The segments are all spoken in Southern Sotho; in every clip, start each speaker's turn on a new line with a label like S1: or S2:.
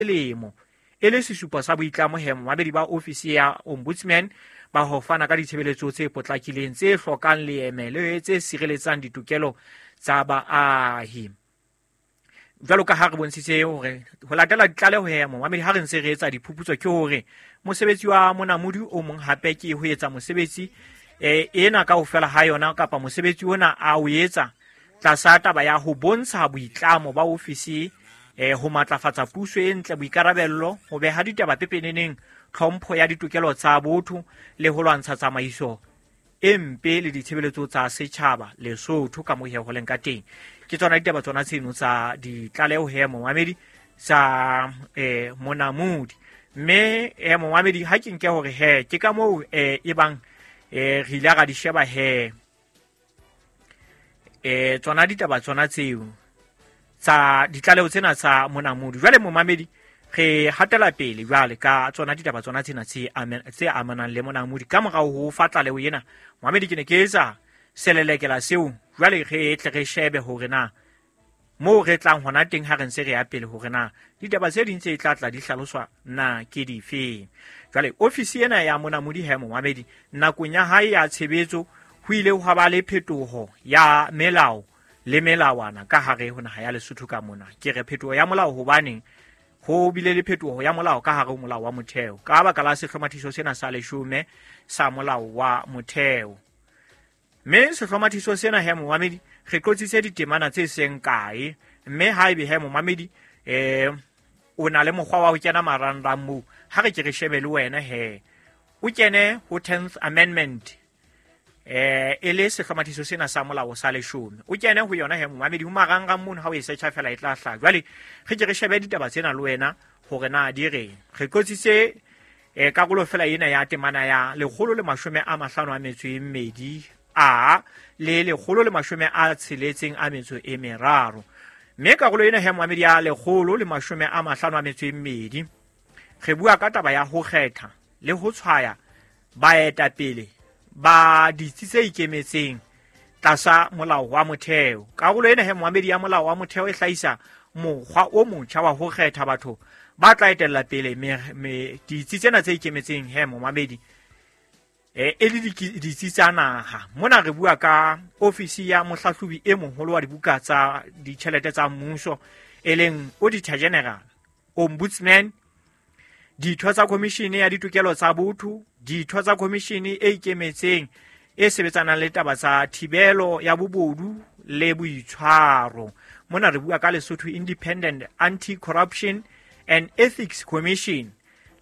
S1: Selemo e le sesupo sa boitlamo he momamedi ba ofisi ya Ombudsman ba ho fana ka ditshebeletso tse potlakileng, tse hlokang leeme le tse sireletsang ditokelo tsa baahi. Jwalo ka ha re bontshitse hore ho latela ditlaleho he momamedi, ha re ntse re etsa diphuputso, ke hore mosebetsi wa Monamodi o mong hape ke ho etsa mosebetsi ena kaofela ha yona, kapa mosebetsi ona a o etsa tlasa taba ya ho bontsha boitlamo ba ofisi ho matlafatsa puso e ntle, boikarabello, ho beha ditaba pepeneneng, tlhompho ya ditokelo tsa botho le ho lwantsha tsamaiso e mpe le ditshebeletso tsa setjhaba Lesotho ka mohe ho leng ka teng. Ke tsona ditaba tsona tseno tsa ditlaleho he momamedi tsa Monamodi. Mme momamedi, ha ke nke hore he ke ka moo e bang re ile ra di sheba he tsona ditaba tsona tseo tsa ditlaleho tsena tsa Monamodi. Jwale momamedi, re hatela pele jwale ka tsona ditaba tsona tsena tse amanang le Monamodi. Ka morao ho fa tlaleho ena, momamedi, ke ne ke etsa selelekela seo. Jwale re tle re shebe hore na moo re tlang hona teng ha re ntse re ya pele, hore na ditaba tse ding tse tla tla di hlaloswa na ke difeng. Jwale ofisi ena ya Monamodi he momamedi, nakong ya hae ya tshebetso ho ile hwa ba le phetoho ya melao le melawana ka hare ho naha ya Lesotho ka mona. Ke re phetoho ya molao hobaneng ho bile le phetoho ya molao ka hare ho molao wa motheo ka baka la sehlomathiso sena sa 10 sa molao wa motheo. Mme sehlomathiso sena he momamedi, re qotsitse ditemana tse seng kae. Mme ha ebe he momamedi o na le mokgwa wa ho kena marangrang moo, ha re ke re shebe le wena he o kene ho 10th Amendment, e le sehlomathiso sena sa molao sa 10, o kene ho yona he momamedi ho marangrang mono. Ha o e searcha fela e tla hlaha. Jwale re ke re shebe ditaba tsena le wena hore na di reng. Re qotsitse karolo fela ena ya temana ya 152 a le 163. Mme karolo ena he momamedi ya 152, re bua ka taba ya ho kgetha le ho tshwaya baetapele ba ditsi tse ikemetseng tlasa molao wa motheo. Karolo ena he momamedi ya molao wa motheo e hlahisa mokgwa o motjha wa ho kgetha batho ba tla etella pele ditsi tsena tse ikemetseng he momamedi, e le ditsi tsa naha. Mona re bua ka ofisi ya mohlahlobi e moholo wa dibuka tsa ditjhelete tsa mmuso, e leng Auditor General, Ombudsman, ditho tsa Commission ya Ditokelo tsa Botho, ditho tsa Commission e ikemetseng e sebetsanang le taba tsa thibelo ya bobodu le boitshwaro. Mona re bua ka Lesotho Independent Anti-Corruption and Ethics Commission,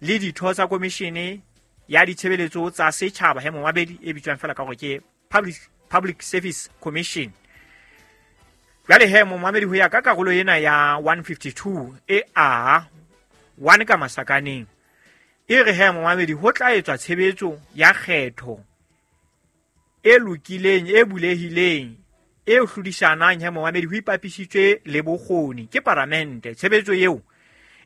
S1: le ditho tsa Commission ya Ditshebeletso tsa Setjhaba he momamedi, e bitswang fela ka hore ke Public Service Commission. Jwale he momamedi, ho ya ka karolo ena ya 152 e a 1 ka masakaneng, e re he momamedi, ho tla etswa tshebetso ya kgetho e lokileng, e bulehileng, e hlodisanang he momamedi, ho ipapisitswe le bokgoni ke paramente. Tshebetso eo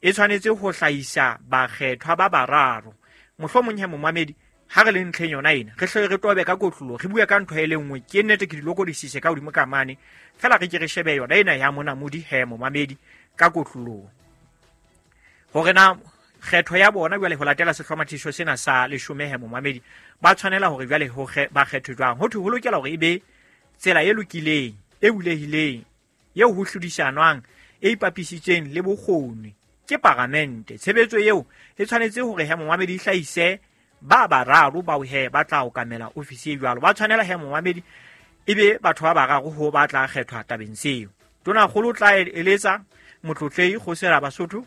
S1: e tshwanetse ho hlahisa bakgethwa ba bararo. Mohlomong he momamedi, ha re le ntlheng yona ena, re hle re tobe ka kotlolo, re bue ka ntho e le nngwe. Ke nnete ke di lokodisise ka hodimo ka mane fela, re ke re shebe yona ena ya Monamodi he momamedi ka kotlolong, hore na kgetho ya bona jwale ho latela sehlomathiso sena sa 10 he momamedi, ba tshwanela hore jwale ba kgethwe jwang. Ho thwe ho lokela hore e be tsela e lokileng, e bulehileng, eo ho hlodisanwang, e ipapisitsweng le bokgoni ke paramente. Tshebetso eo e tshwanetse hore he momamedi e hlahise ba bararo bao he ba tla okamela ofisi e jwalo. Ba tshwanela he momamedi e be batho ba bararo ho ba tla kgethwa tabeng seo. Tonakgolo o tla eletsa Motlotlehi Kgosi Rabasotho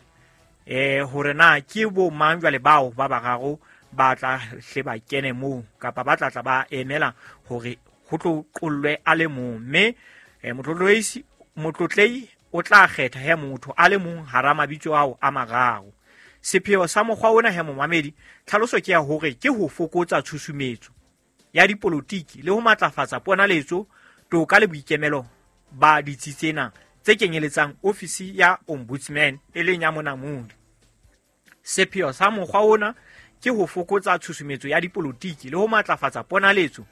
S1: hore na ke bo mang jwale bao ba bararo ba tla hle ba kene moo, kapa ba tla tla ba emela hore ho tlo qollwe a le mong. Mme Motlotlehi o tla kgetha he motho a le mong hara mabitso ao a mararo. Sepheo sa mokgwa ona he momamedi, tlhaloso ke ya hore ke ho fokotsa tshusumetso ya dipolotiki le ho matlafatsa ponaletso, toka le boikemelo ba ditsi tsena tse kenyeletsang ofisi ya Ombudsman, e leng ya Monamodi. Sepheo sa mokgwa ona ke ho fokotsa tshusumetso ya dipolotiki le ho matlafatsa ponaletso,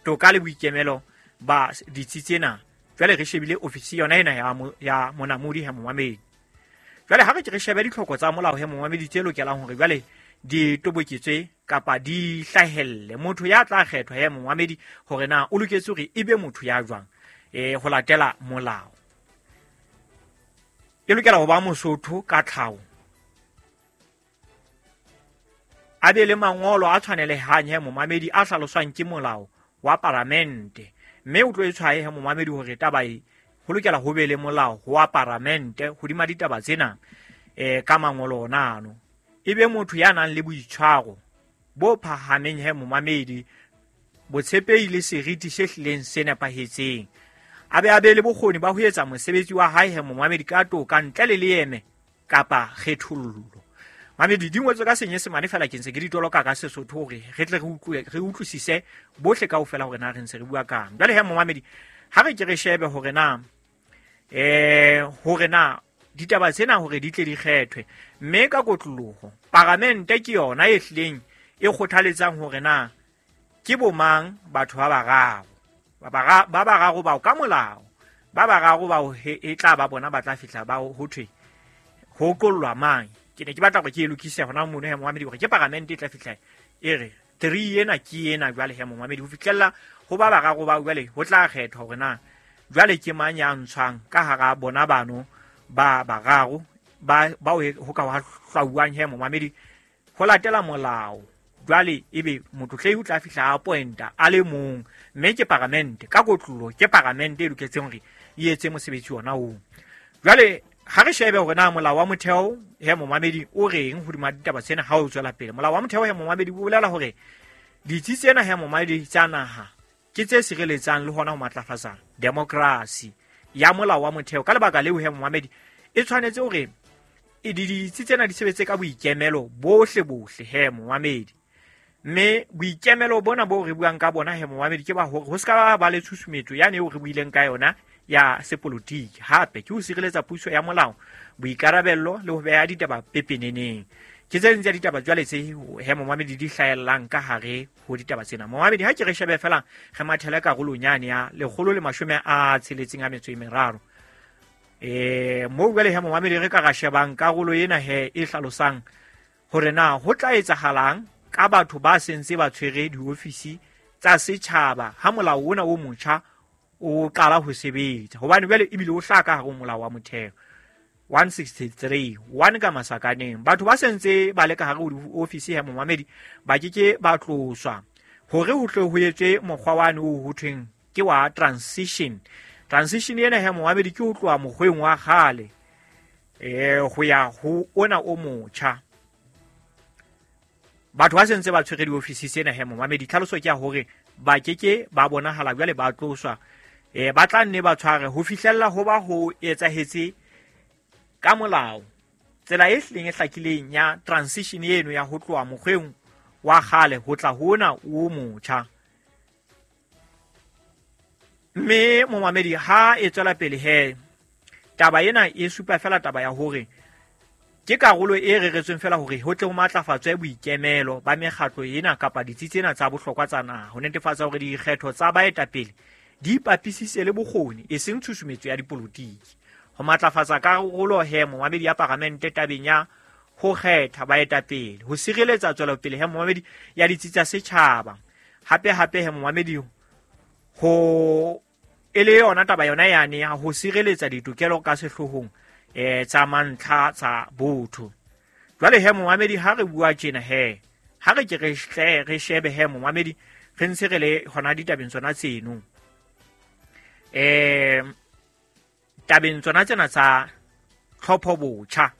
S1: toka le boikemelo ba ditsi tsena. Jwale re shebile ofisi yona ena ya Monamodi he momamedi. Jwale ha re ke re shebe ditlhoko tsa molao he momamedi tse lokelang hore jwale di toboketswe kapa di hlahelle. Motho ya tla kgethwa he momamedi hore na o loketse hore e be motho ya jwang ho latela molao. E lokela ho ba Mosotho ka tlhaho, a be le mangolo a tshwanelehang he momamedi a hlaloswang ke molao wa paramente, mme o tlo e tshwaye he momamedi hore taba e ho lokela ho be le molao wa paramente hodima ditaba tsena ka mangolo ona ano. E be motho ya nang le boitshwaro bo phahameng he momamedi, botshepehi le seriti se hlileng se nepahetseng. A be le bokgoni ba ho etsa mosebetsi wa hae he momamedi ka toka ntle le leeme kapa kgethollo. Mamedi di ngotswe ka Senyesemane fela ke ntse ke di toloka ka Sesotho hore re tle re utlwisise bohle kaofela hore na re ntse re bua kang. Jwale he momamedi, ha re ke re shebe hore na hore na ditaba tsena hore di tle di kgethwe, mme ka kotloloho paramente ke yona e hlileng e kgothaletsang hore na ke bomang batho ba bararo ba bararo bao ka molao, ba bararo bao e tla ba bona ba tla fihla ba ho thwe ho qollwa mang. Ke ne ke batla hore ke e lokise hona mono he momamedi hore ke paramente e tla fihla e re three ena ke ena jwale he momamedi, ho fihlella ho ba bararo bao jwale ho tla kgethwa hore na jwale ke mang ya ntshwang ka hara bona bano ba bararo ba bao ho ka wa hlwauwang he momamedi ho latela molao. Jwale ebe motlotlei o tla fihla a pointa a le mong, mme ke paramente ka kotlolo, ke paramente e loketseng hore e etse mosebetsi ona oo. Jwale ha re shebe hore na molao wa motheo he momamedi o reng hodima ditaba tsena ha o tswela pele. Molao wa motheo he momamedi o bolela hore ditsi tsena he momamedi tsa naha ke tse sireletsang le hona ho matlafatsa demokrasi ya molao wa motheo. Ka lebaka leo he momamedi e tshwanetse hore ditsi tsena di sebetse ka boikemelo bohle bohle he momamedi. Mme boikemelo bona bo re buang ka bona he momamedi ke ba hore ho ska ba le tshusumetso yane eo re buileng ka yona ya sepolotiki. Hape ke ho sireletsa puso ya molao, boikarabello le ho beha ditaba pepeneneng. Ke tse ding tsa ditaba jwale tse he momamedi di hlahellang ka hare ho ditaba tsena. Momamedi ha ke re shebe fela re mathele karolong yane ya 163. Moo jwale he momamedi re ka ra shebang karolo ena he e hlalosang hore na ho tla etsahalang ka batho ba sentse ba tshwere diofisi tsa setjhaba ha molao ona o motjha o qala ho sebetsa, hobane jwale ebile o hlaka hare ho molao wa motheo 163 1 ka masakaneng. Batho ba sentse ba le ka hare ho diofisi he momamedi ba ke ke ba tloswa hore ho tle ho etswe mokgwa wane o ho thweng ke wa transition. Transition ena he momamedi ke ho tloha mokgweng wa kgale ho ya ho ona o motjha. Batho ba sentse ba tshwere diofisi tsena he momamedi, tlhaloso ke ya hore ba ke ke ba bonahala jwale ba tloswa, ba tla nne ba tshware ho fihlella ho ba ho etsahetse ka molao. Tsela e hlileng e hlakileng ya transition eno ya ho tloha mokgweng wa kgale ho tla ho ona o motjha. Mme momamedi ha e tswela pele he taba ena e supa fela taba ya hore ke karolo e reretsweng fela hore ho tle ho matlafatswe boikemelo ba mekgatlo ena kapa ditsi tsena tsa bohlokwa tsa naha, ho netefatsa hore dikgetho tsa baetapele di ipapisitse le bokgoni e seng tshusumetso ya dipolotiki. Ho matlafatsa karolo he momamedi ya paramente tabeng ya ho kgetha baetapele, ho sireletsa tswelopele he momamedi ya ditsi tsa setjhaba. Hape hape he momamedi ho e le yona taba yona yane ya ho sireletsa ditokelo ka sehloohong tsa mantlha tsa botho. Jwale he momamedi ha re bua tjena he ha re ke re hle re shebe he momamedi re ntse re le hona ditabeng tsona tseno, tabeng tsona tsena tsa tlhopho botjha.